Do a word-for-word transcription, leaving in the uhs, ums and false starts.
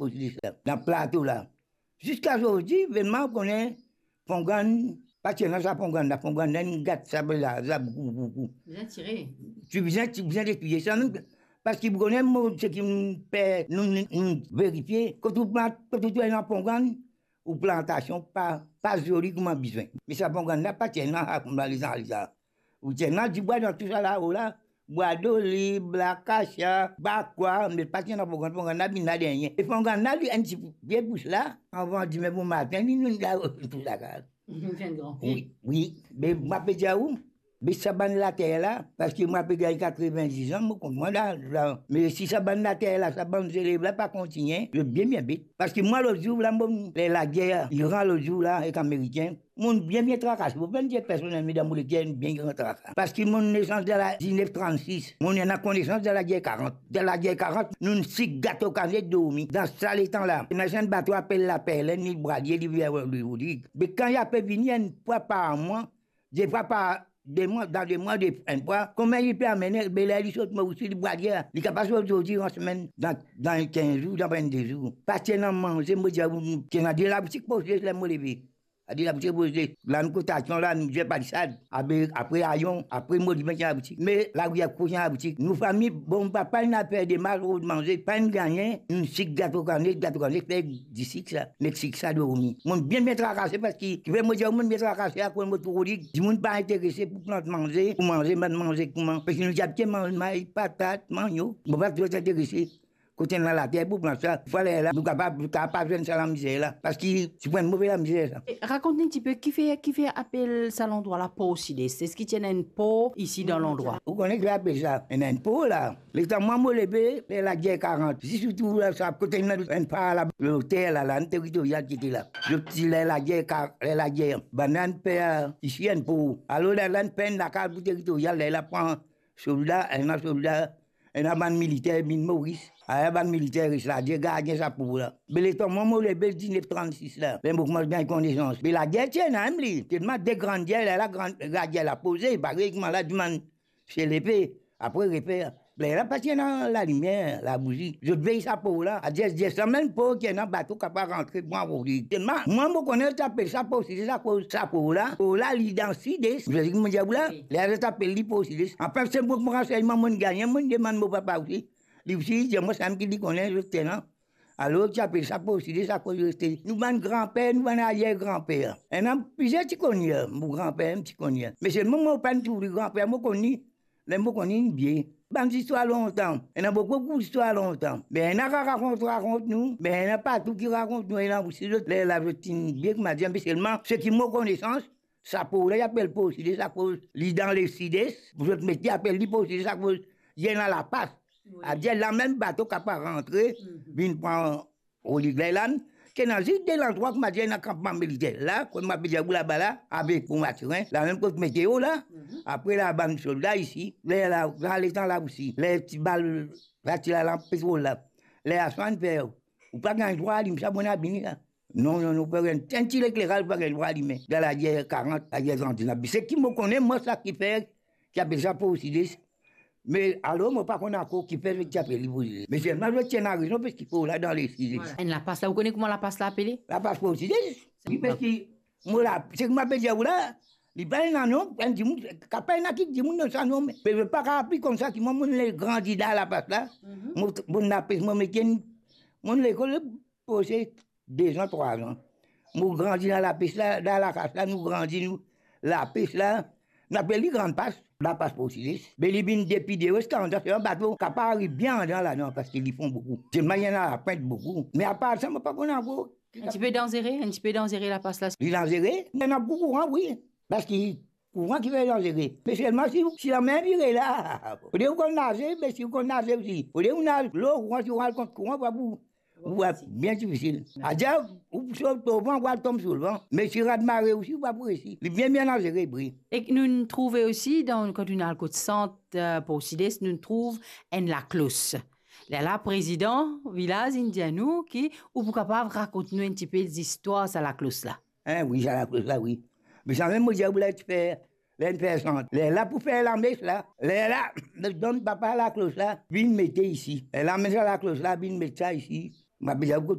Posidis la, dan plato la. Ziska zordi, vremem, ou kone, pongann, pa ti ena sa pongann la, pongann la, inn gat sa, la, sa, boukou, boukou. Bizin tire. Ti bizin, ti bizin detwir sa, mem, parski ou kone, mo, seki mo pe, nou, nou, nou verifie, kot ou plant, kot ou trouv ena pongann, ou plantasion pa, pa zoli kouma bizin. Me sa pongann la, pa ti ena, kouma lezan, lezan. Ou ti ena dibwa dan tou sa lao la, bwa dolib, lakasia, bwa kwa, me pa ti ena pongann, pongann la vinn la dernie. E pongann la, li enn ti pie pous la, avan dime bomatin, li, nou la, tou sa kaz. Li finn gran pie. Wi, wi. Me mo pe dir ou, me sa bann later la, parski mo pe gagn katrevinndis an, mo konn mwa la, la. Me si sa bann later la, sa bann zelev la pa kontigne, zot bien, bien bet. Parski mwa, lot zour la, mo, ler lager Iran lot zour la, ek Amerikin, mo bien, bien trakase. Mo pa'nn dir personelman, me dan mo leker, bien gran traka. Parski mo nesans dan la diznef trannsis. Mo ena konesans dan lager karant. Dan lager karant, nou sik gato kanet dormi. Dan sa letan la, ena enn bato apel Laperlenn, li Bradie, li vinn Lwil Rodig. Me kan li ape vini enn fwa par mwa, de fwa par de mwa, dan de mwa, de, enn fwa, kouma li pe amenn, be ler li sot Moris, li Bradie, li kapav sot zordi, an semenn, dan, dan kinz zour, dan vennde zour. Pa ti ena manze, mo dir ou, ti ena de laboutik Posidis ler mo leve. A de laboutik Posidis, la nou kotasion la, nou dir Palisad, abe, apre Ayon, apre Molimen ti ena laboutik. Me larivier kote ti ena laboutik. Nou fami, bon, papa inn al fer demarsh rod manze, pa'nn gagne, nou sik gato kanet, gato kanet, fer disik sa, met sik sa dormi. Mo bien, bien trakase, parski, kifer mo dir ou mo bien trakase, akoz mo trouv li, dimoun pa interese pou plant manze, pou manze, bann manze kouma. Parski nou ti abitye manz may, patat, manniok. Mo pa tro interese. Kot ena later pou plant sa, fale la, nou kapav, nou kapav pa zwenn sa lamizer la, parski ti pou enn move lamizer sa. E rakont nou enn tipe, kifer, kifer apel sa landrwa la Posidis? Eski ti ena enn por isi dan landrwa? Ou kone ki apel sa? Ena enn por la. Letan mwa mo leve, ler lager karant, zis ou trouv la sa, kot ena enn par la, lotel la, la, enn teritorial ki ti la. Zot ti ler lager ka-, ler lager. Bann la inn fer isi enn por. Alor la, la inn fer enn lakaz pou teritorial, ler la pran solda, ena solda, ena bann militer vinn Moris, ala bann militer res la, dir gardien sa por la. Be letan mwa mo leve diznef trannsis la, be mo koumans gagn konesans. Be lager ti ena mem li, telman de gran dier la, la gran, lager la poze, parey kouma la dimann se lepe, apre refer. Lerla pa ti ena lalimier, labouzi. Zot vey sa por la. Adir, adir sa mem por ki ena bato kapav rantre pran roli. Telman, mwa mo kone zot apel sa Posidis akoz sa por la, por la li dan Sides. Zot ki mo dir ou la, wi, lerla zot apel li Posidis. Anfin, se mo ransegneman mo'nn gagne, mo'nn demann mo papa osi. Li osi, li dir mwa samem ki li kone zot ena. Alor, ti apel sa Posidis akoz reste nou bann granper, nou bann arier granper. Ena plizier ti konn li, mo granper mem ti konn li. Me selman mo pa'nn trouv li granper, mo konn li, ler mo konn li, li vie. Bann zistwar lontan, ena boukou, boukou zistwar lontan. Be ena rakont, rakont nou, be ena partou ki rakont nou, ena osi zot, lerla zot inn vie, kouma dir, me selman, seki mo konesans, sa por la, li apel Posidis akoz li dan Lesides, pou zot mete apel li Posidis akoz li ena lapas. Wi. Adir, la mem bato kapav rantre, mhm, vinn pran roli. Lerla, ti ena zis de landrwa, kouma dir, ena kanpman militer la, kot mo pe dir ou laba la, avek pou Matirin, la mem kot meteo la, mhm, apre la bann solda isi, lerla, sa letan la osi, ler ti bal, sa ti la lanp petrol la, ler aswar inn fer, ou pa gagn drwa alim sa, bon, abini la. Non, non, non, pa gagn, enn ti lekleraz pa gagn drwa alime. Dan lager karant, lager trannsis la. Seki mo kone, mwa, sa ki fer, ki apel sa Posidis. Me alor, mo pa konn ankor kifer zot ti apel li Posidis. Me selman zot ti ena rezon, parski por la dan Lesides. Enn lapas la, ou kone kouma lapas la apele? Lapas Posidis. Wi, parski mo la, seki mo pe dir ou la, li pa ena nom, enn dimoun, kapav ena ki dimoun donn sa nom, me zot pa kapav pli konn sa ki mwa, mo'nn grandi dan lapas la. Mhm. Mo, mo lapes, mo mete, mo'nn lekol, pase de zan, trwa zan. Nou grandi dan lapes la, dan lakas la, nou grandi, nou, lapes la, nou apel li Grann Pas, lapas Posidis. Be li vinn depi deor ziska andan, se enn bato kapav ariv bien andan ladan, parski li fon boukou. Selman li ena lapwint boukou. Me apar sa, mo pa konn ankor. Enn tipe danzere, enn tipe danzere lapas la. Li danzere, ena boukou kouran, wi. Parski kouran ki fer danzere. Me selman si, si lamer vire la, fode ou konn naze, me si ou konn naze osi, fode ou naz lor kouran, si ou al kont kouran, ou pa pou Ou va bien difisil. Adia, ou sot lor van, ou al tom sou lvan. Me si rad mare osi, ou pa pou resi. Li bien, bien danzere, wi. E nou'nn trouve osi, dan, kan nou'nn al kot sant, eh, Posidis, nou'nn trouv enn laklos. Lerla, prezidan vilaz inn dir nou ki ou pou kapav rakont nou enn tipe zistwar sa laklos la. Hein, wi, sa laklos la, wi. Me samem mo dir ou la, ti fer, ler inn fer sant. Lerla pou fer lames la. Lerla, donn papa laklos la, vinn mete isi. Lerla amenn sa laklos la, vinn met sa isi. Mo bizin akoz